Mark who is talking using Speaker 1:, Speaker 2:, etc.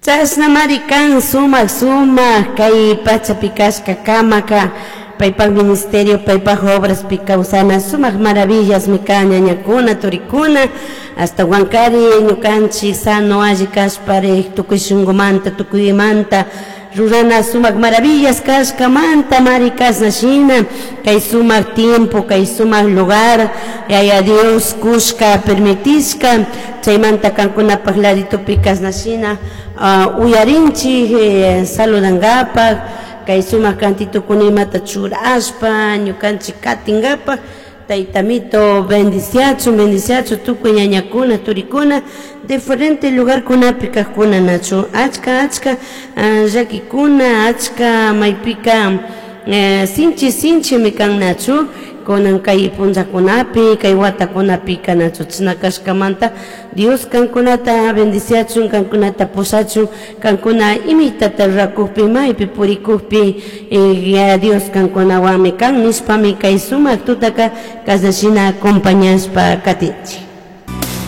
Speaker 1: Chashnamari kan sumak sumak kay pachapi kashkakamaka paypak ministerio, paypak obraspi kawsana sumak maravillasmi kan, ñañakuna, turikuna. Ashtahuankari ñukanchik sano alli kashpari tukuy shunkumanta, tukuymanta rurana sumak maravillas kashkamanta mari kashna shina kay sumak tiempo, kay sumak lugar Yaya Dios kushka permitishka. Chaymanta kankunapak laditopi kashna shina uyarinchik saludangapak kay sumak cantitokuna imata churashpa ñukanchik katingapak. Taytamito bendiciachun, bendiciachun tukuy ñañakuna, turikuna, diferente lugarkunapi kajkuna, nachu? Achka achka llakikuna, achka maypika sinchi sinchimi kan, nachu? Kunan kay punllakunapi, kay watakunapika, nachu? Chashna kashkamanta Dios kankunata bendiciachun, kankunata pushachun, kankuna imitata rurakukpi, maypi purikukpi, Dios kankunawanmi kan nishpami kay sumak tutaka kashna shina acompañashpa katinchik.